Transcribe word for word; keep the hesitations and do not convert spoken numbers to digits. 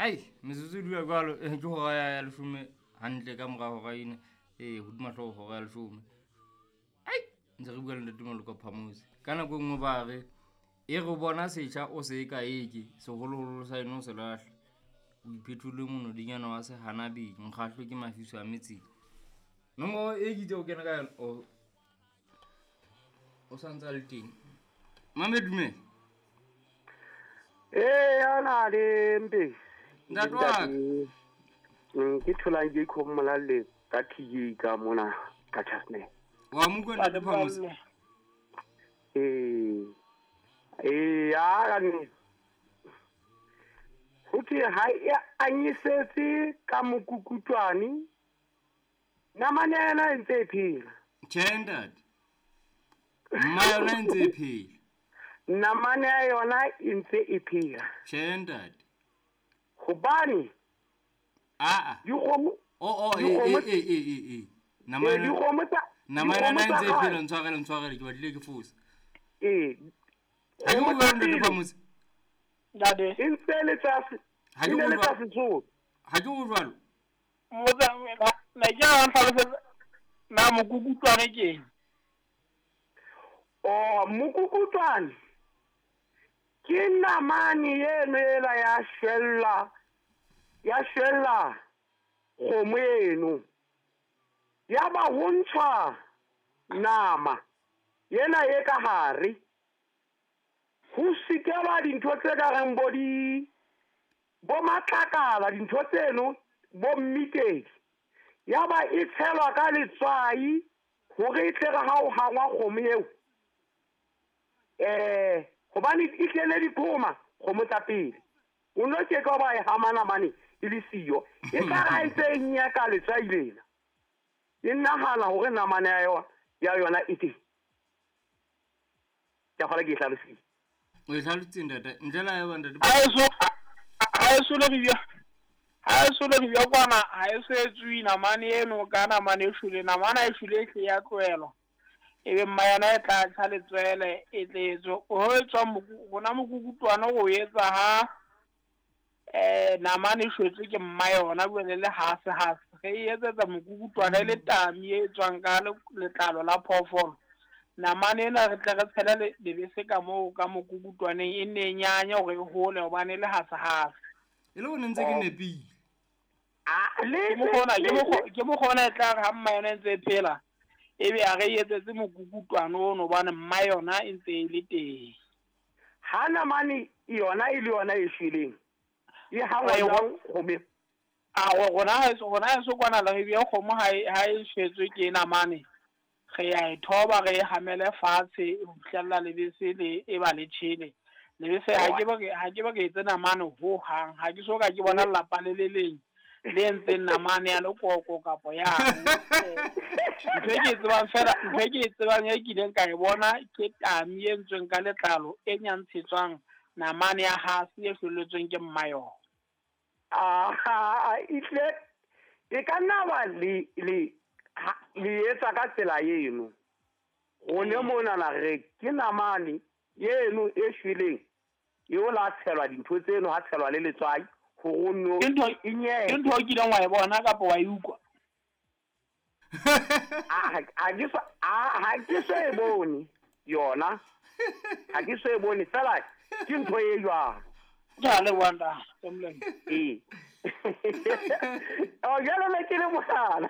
Ai, metsotso e dula jwalo, eh, ke hora ya ya leshome hantle ka mora hora ena. Ee, hodima hlooho hora ya leshome. Ai, ntse re bua le Ntate Moloko Phamose. Ka nako e nngwe ba re, e re bona setjha o se ka eke, seholoholo sa eno o se lahle. O iphetole monodinyana wa sehanabeng, mokgahlo ke mafiso a metseng. Nomoro e ke itse o kena ka yona, o o sa ntse a le teng. Mame dumela. Ee, ana le mpe. Ntate wa ka. Mm, ke tholang ke ikhomola ka T J ka mona ka Chasne. Wa mo utlwa Ntate Phamose? Ee. Ee, ya ka nnete. Ho thwe ha e anyisetse ka mokukutwane, namane ya yona e ntse e phela. Tjhe, ntate. Mma yona e ntse e phela. Namane ya yona e ntse e phela. Tjhe, ntate. Hobane Aa. dikgomo O, o, e, dikgomo e, e, e, e, e. Namane Eh, dikgomo tsa namane yona e dikgomo tsa ntse e phela, kgale. ntshwarele, ntshwarele, ke batlile ke fosa. Ee. Ha ke Kgomo utlwe tsa Ntate pele. Phamose. Ntate. E ntse le tsa se- Ha ke e ne le utlwa- tsa Sesotho. Ha ke utlwe jwalo. Mmotsa, na, na ke a ntlhalosetsa, na mokukutwane ke eng? Oh, mokukutwane ke namane eno ela ya shwella, ya shwella kgomo eno. Ya ba ho ntshwa nama ena e ka hare. Ho sikelwa dintho tse ka reng bo di, bo matlakala, dintho tseno, bo mmitedi. Ya ba e tshelwa ka letswai hore e tle re ha o hangwa kgomo eo. Eh, hobane e tlele diqhoma kgomo tsa pele. O no ke ka ba e hama namane e le siyo. E tla ra e tse e nyaka letswai lena. E nahana hore namane ya yona, ya yona e teng. Ke a kgolwa ke e hlalositse. O e hlalositse, ntate. Ntle le ha eba, ntate. Ha e so, ha e so le re bia, ha e so le re bia kwana, ha e so etsuwe namane eno ka namane e shwele. Namane ha e shwele e hle ya tlohelwa. Ebe mma yona e tla tjha letswele, e tle e tswe. Ho etswa moku-, rona mokukutwane o etsa ha, eh, namane e shwetswe ke mma yona, jwale le hase hase. Re e etsetsa mokukutwane e le tami e tswang ka le-, letlalo la phoofolo. Namane ena re tle re tshele le-, lebese ka moo ka mokukutwaneng, e nne e nyanye hore e hole hobane e le hase hase. E le hore ntse ke nepile. Ah, le Ke mokgwa ona, le ke mokgwa, ke mokgwa ona e tla re ha mma yona e ntse e phela, ebe a re etsetse mokukutwane ono hobane mma yona e ntse e le teng. Ha namane yona e le yona e shweleng, e hangwa Ai, jwang kgomo? A, go-, rona ha eso, rona ha eso kwana le re bea kgomo ha e, ha e shwetswe ke namane, re a e thoba, re e hamele fatshe ho fihlella lebese le e ba le tjhele. Lebese ha ke ba ke, ha ke ba ke etse namane ho hang, ha ke so ka ke bona lelapa le le leng le entseng namane ya lekoko kapa ya. Ntho e ke e tsebang fela, ntho e ke e tsebang e kileng ka e bona ke tami e entsweng ka letlalo e nyantshetswang namane ya hase e hloletsweng ke mma yona. Ah, e tle e ka nna ba le, le, ha, le etsa ka tsela eno. Rone monana re ke namane eno e shweleng, eo la tshelwa dintho tseno, ha tshelwa le letswai, hore o nno Ke ntho e nyeke. ke ntho o kileng wa e bona kapa wa e utlwa? Ah, ha ke so, ah, ha ke so e bone yona. Ha ke so e bone fela ke ntho e jwalo. Ke a leboha ntate, ke molemo. Ee. Oh, jwale ne ke le mohlala.